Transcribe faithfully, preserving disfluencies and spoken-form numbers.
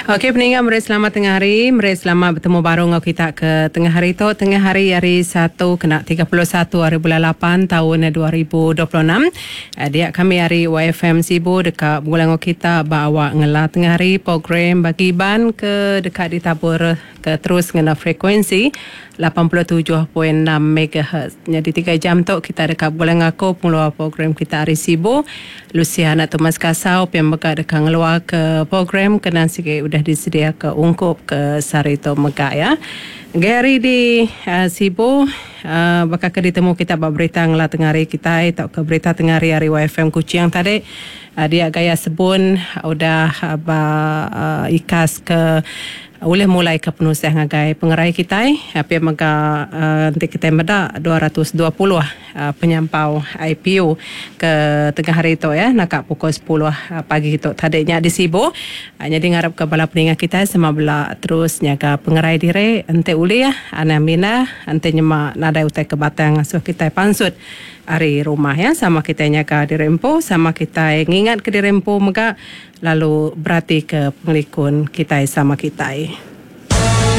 Okey peninga meri selamat tengah hari, meri selamat betemu baru enggau kita ke tengah hari tu, tengah hari hari Satu kena tiga puluh satu hari bulan lapan taun dua ribu dua puluh enam. Dia kami hari Y F M Sibu deka begulai enggau kita ba awak ngela tengah hari program bagi Iban ke deka ditabur ke terus ngena frekuensi lapan puluh tujuh point enam megahertz. Jadi tiga jam tu kita deka begulai ngaku pengeluar program kita hari Sibu, Luciana Thomas Kasau, P M Mega deka ngeluar ke program kena sikit udah disedia ke ungkup ke sehari tu mega ya. Gary di uh, Sibu, uh, bakal ke ditemu kita ba berita ngela tengah hari kita atau ke berita tengah hari hari Y F M Kuching tadi. Uh, dia gaya sebun udah uh, ba uh, ikas ke boleh mulai ke penusah ngagai pengerai kita. Tapi mega uh, nanti kita meda dua ratus dua puluh uh, penyampau I P U ke tengah hari itu ya, nak pukul sepuluh uh, pagi itu tadinya di Sibu. Uh, jadi ngarap ke bala peningat kita sama bela terus nyaga pengerai diri ente uli ya, ana mina ente nyema nadai utai ke batang asuh kita pansut ari rumah ya, sama kita nyaga diri empu, sama kita ngingat ke diri empu mega lalu berarti ke pengelikun kita sama kita.